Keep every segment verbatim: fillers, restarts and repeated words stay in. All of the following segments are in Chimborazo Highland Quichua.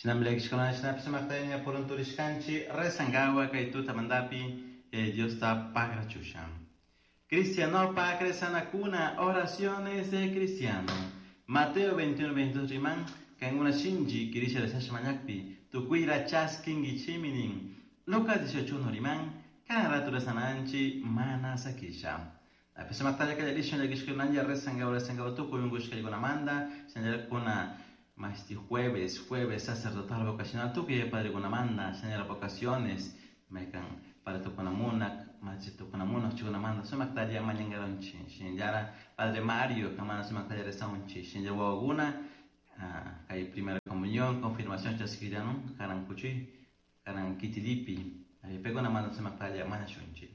Shinami llakishkuna shinapish sumaktayña purunturishkanchik rezankawa kay tutamantapi eh, Diosta pagrachusha. Cristianopak rezanakuna, oraciones de cristiano. Mateo veintiuno veintidós riman, kankuna shinchi kirisha rezasha mañakpi, tukuyra chaskinkichimi nin. Lucas dieciocho uno riman, kanan ratu rezananchi mana sakisha. Sumaktalla kallarishun llakishkunalla rezankawa rezankawa tukuy unkushkaykunamanta, shinallara mashti jueves, jueves sacerdotal vocacional tukuy padrekunamanta, señora vocaciones, maykan para tukunamunak, machi tukunamunak chukunamanta, sumaktalla mañankaronchi, shinallara Padre Mario, kamana sumaktalla rezaunchi, shinallara wawakuna, kay primera comunión, confirmación chaskillanu, karan kuchuy, karan kitilipi, paykunamanta sumaktalla mañashunchi.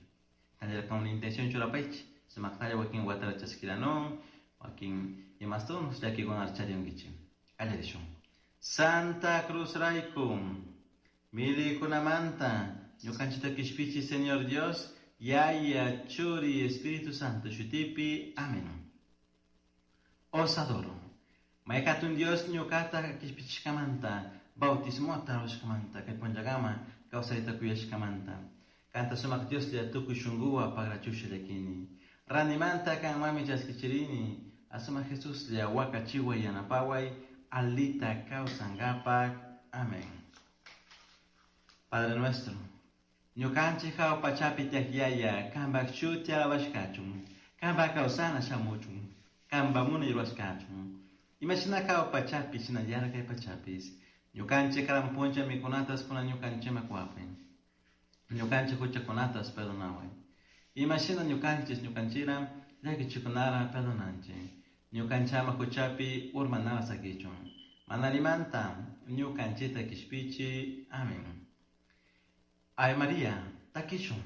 Kanallara con intención churapaychi, sumaktalla wakin watara chaskillanun, wakin imastun llakikuna charinkichik. Kallarishun. Santa Cruz rayku, milikunamanta, ñukanchikta kishpichi Señor Dios, Yaya, Churi, Espíritu Santo, shutipi, amén. Os adoro. Maykatun Dios ñukata kishpichishkamanta, bautismota rurashkamanta, kay punllakama kawsayta kuyashkamanta. Kanta sumak Dioslla tukuy shunkuwan pagrachusha llakini. Ranimanta kanmanmi chaskichirini, asumak Jesuslla wakachiway yanapaway, alita kawsankapak. Amén. Padre nuestro, ñukanchik hawa pachapi tiyak Yaya, kanpak shuti alabashkachun, kanpak kawsana shamuchun, kanpak munay rurashkachun. Imashina hawa pachapi, shinallara kay pachapis, ñukanchik karan punlla mikunatas kunan ñukanchikman kuwapay. Ñukanchik huchakunatas perdonaway. Imashina ñukanchik ñukanchira llakichikunara perdonanchik. Ñukanchama huchapi urmanara sakichun. Manarimanta ñukanchikta kishpichi. Amén. Ave María, takishun.